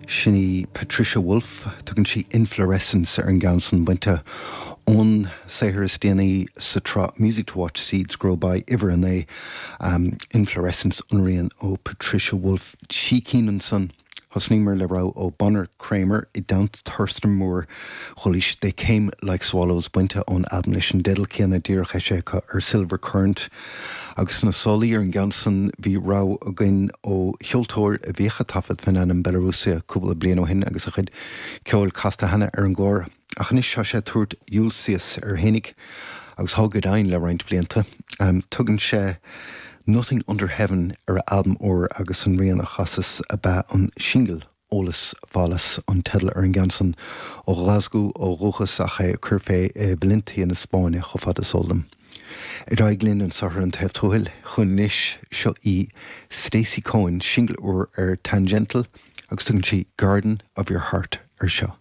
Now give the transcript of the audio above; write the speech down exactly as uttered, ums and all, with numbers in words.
Sin í Patricia Wolf, tugann sí Inflorescence ar an gceann san bainte ón saothar is déanaí sa tsraith Music to Watch Seeds Grow By uimhir a naoi um, Inflorescence an rian ó Patricia Wolf trí cinn ansan. Thosnaíomar le rogha ó Bonner Kramer i dteannta Thurston Moore chualaís They Came Like Swallows bainte ón albam leis an dteideal céanna díreach eisithe acu ar Silver Current. Agus na solaí ar an gceann san bhí rogha againn ó cheoltóir a bhíodh ag taifead faoin ainm Belarúsia cúpla bliain ó shin agus a chuid ceoil casta cheana ar an gclár. Ach anois tá sé ag tabhairt Ulysses air fhéinig agus thá go deimhin le roinnt blianta. Um, tugann sé Nothing Under Heaven ar a albam úr agus an rian a chasas ab ea an singil Eolas Fallas an teideal ar an gceann san ó Glasgow ó dhúchas ach é ag cur fé i Valencia na Spáinne chomh fada is eol dom. Ar aghaidh linn anseo ar an taobh tuathail chun anois seo í Stacey Cohen singil úr ar Tangential agus tugann sí Garden of Your Heart ar seo.